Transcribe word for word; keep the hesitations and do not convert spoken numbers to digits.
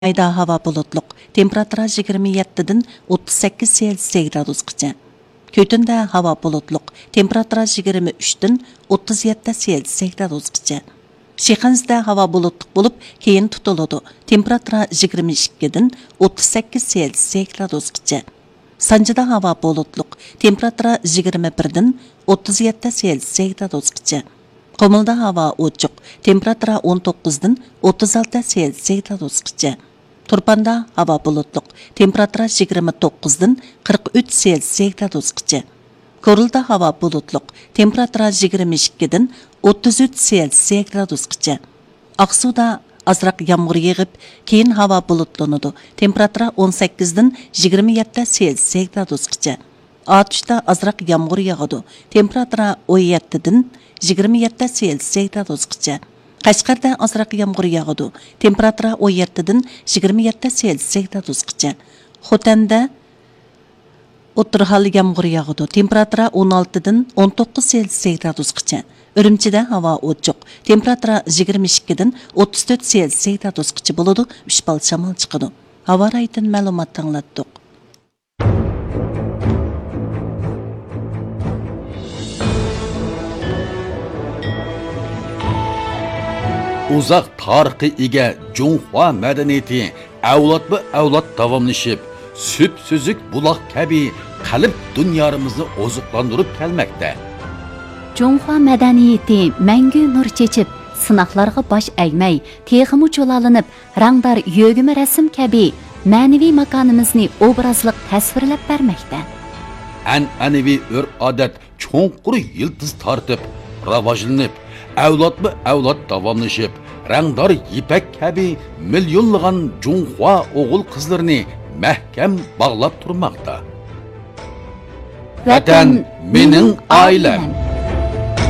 مايدا ھاۋا بۇلۇتلۇق، تېمپېراتۇرا يىگىرمە يەتتىدىن ئوتتۇز سەككىز سېلسىيەس گرادۇسقىچە. كۈتۈندە ھاۋا بۇلۇتلۇق، تېمپېراتۇرا يىگىرمە ئۈچتىن ئوتتۇز يەتتە سېلسىيەس گرادۇسقىچە. شىخەنزىدە ھاۋا بۇلۇتلۇق بولۇپ، كېيىن تۇتۇلىدۇ، تېمپېراتۇرا يىگىرمە ئىككىدىن ئوتتۇز سەككىز سېلسىيەس گرادۇسقىچە. سانجىدا ھاۋا بۇلۇتلۇق، تېمپېراتۇرا يىگىرمە بىردىن ئوتتۇز يەتتە سېلسىيەس گرادۇسقىچە. قۇمۇلدا ھاۋا ئوچۇق، تېمپېراتۇرا ئون توققۇزدىن ئوتتۇز ئالتە سېلسىيەس گرادۇسقىچە. تۇرپاندا ھاۋا بۇلۇتلۇق، تېمپېراتۇرا يىگىرمە توققۇزدىن قىرىق ئۈچ سېلسىيەس گرادۇسقىچە. كورلىدا ھاۋا بۇلۇتلۇق، تېمپېراتۇرا يىگىرمە ئىككىدىن ئوتتۇز ئۈچ سېلسىيەس گرادۇسقىچە. ئاقسۇدا ئازراق يامغۇر يېغىپ، كېيىن ھاۋا بۇلۇتلىنىدۇ، تېمپېراتۇرا ئون سەككىزدىن يىگىرمە يەتتە سېلسىيەس گرادۇسقىچە. ئاتۇشتا ئازراق يامغۇر ياغىدۇ، تېمپېراتۇرا ئون يەتتىدىن يىگىرمە يەتتە سېلسىيەس گرادۇسقىچە. قەشقەردە ئازراق يامغۇر ياغىدۇ، تېمپېراتۇرا ئون يەتتىدىن يىگىرمە يەتتە سېلسىيەس گرادۇسقىچە. خوتەندە ئوتتۇرا ھال يامغۇر ياغىدۇ، تېمپېراتۇرا ئون ئالتىدىن ئون توققۇز سېلسىيەس گرادۇسقىچە. ئۈرۈمچىدە ھاۋا ئوچۇق، تېمپېراتۇرا يىگىرمە ئىككىدىن ئوتتۇز تۆت سېلسىيەس گرادۇسقىچە بولىدۇ، ئۈچ بال شامال چىقىدۇ. ھاۋا رايىدىن مەلۇمات ئاڭلاتتۇق. ئۇزاق تارىخقا ئىگە جۇڭخۇا مەدەنىيىتى ئەۋلادمۇ ئەۋلاد داۋاملىشىپ، سۈپسۈزۈك بۇلاق كەبى قەلب دۇنيارىمىزنى ئوزۇقلاندۇرۇپ كەلمەكتە. جۇڭخۇا مەدەنىيىتى مەڭگۈ نۇر چېچىپ، سىناقلارغا باش ئەگمەي، تېخىمۇ جۇلالىنىپ، رەڭدار يۆگىمە رەسىم كەبى مەنىۋى ماكانىمىزنى ئوبرازلىق تەسۋىرلەپ بەرمەكتە. ئەنئەنىۋى ئۆرپ-ئادەت چوڭقۇر يىلتىز تارتىپ، راۋاجلىنىپ، ئەۋلادمۇ ئەۋلاد داۋاملىشىپ، رەڭدار يىپەك كەبى مىليونلىغان جۇڭخۇا ئوغۇل-قىزلىرىنى مەھكەم باغلاپ تۇرماقتا. ۋەتەن مېنىڭ ئائىلەم.